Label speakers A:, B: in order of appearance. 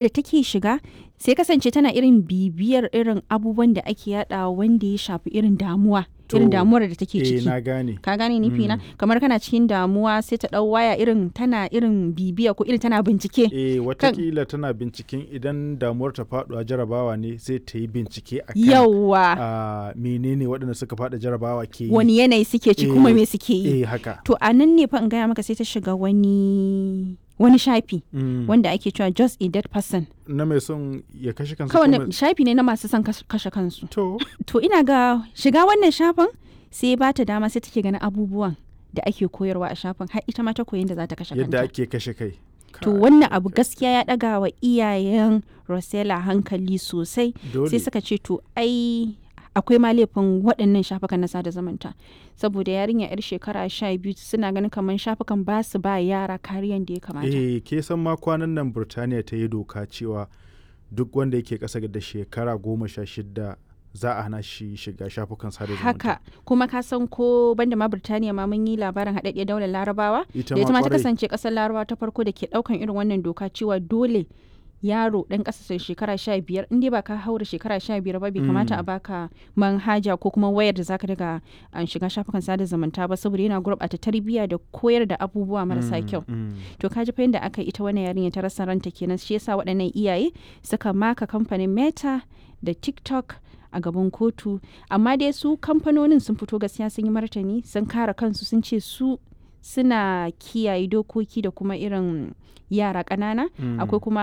A: Da take shiga sai kasance tana irin bibiyar irin abubuwan da ake yaɗawa wanda ya shafi irin damuwa, irin
B: To,
A: damuwar da take
B: eh
A: ciki.
B: na gane.
A: Ka gane nufi na? Kamar kana cikin damuwa sai ta ɗau waya irin tana irin bibiya ko irin tana bincike.
B: Eh,
A: Kan
B: watakila tana binciken idan damuwar ta faɗuwa jarabawa ne, sai ta yi bincike akan
A: Yawwa.
B: Menene waɗanda suka faɗi jarabawa ke yi.
A: Wani yanayi suke ciki kuma
B: Eh,
A: me suke yi.
B: eh haka.
A: To a nan ne fa in gaya maka sai ta shiga wani shafi wanda ake cewa "Just a Dead Person".
B: Na mai son ya kashe kansa
A: Kawai
B: ko mai
A: shafi ne na masu son kashe kansu.
B: To,
A: To ina ga shiga wannan shafin sai ba ta dama sai take ganin abubuwan da ake koyarwa a shafin, har ita ma ta koyi yadda za ta kashe
B: yadda
A: kanta.
B: ake kashe kai.
A: To
B: Kai,
A: wannan abu gaskiya ya ɗaga wa iyayen Rosella hankali sosai. Sai
B: Dole.
A: suka ce to ai akwai ma laifin waɗannan shafukan na sada zumunta. Saboda yarinya 'yar shekara 12, suna ganin kamar shafukan ba su ba yara kariyan da ya kamata.
B: Eh, ke san ma kwanan nan Burtaniya ta yi doka cewa duk wanda yake ƙasa da shekara 16 za a hana shi shiga shafukan sada zumunta.
A: Haka kuma ka san ko banda ma Birtaniya ma, mun yi labarin haɗaɗɗiyar daular Larabawa
B: Ita
A: da ita
B: ma
A: ma ta
B: kwarai.
A: kasance ƙasar Larabawa ta farko da ke ɗaukan irin wannan doka cewa dole yaro ɗan ƙasa shekara 15, in dai ba ka haura shekara 15 ba, bai kamata a baka manhaja ko kuma wayar da zaka daga an shiga shafukan sada zumunta ba, saboda yana gurɓata tarbiyya da koyar da abubuwa marasa kyau. To ka ji fa yadda aka yi ita wannan yarinya ta rasa ranta kenan. Shi yasa waɗannan iyaye suka maka kamfanin Meta da TikTok a gaban kotu. Amma dai su kamfanonin sun fito gaskiya sun yi martani, sun kare kansu, sun ce su suna kiyaye dokoki da kuma irin yara ƙanana. Akwai kuma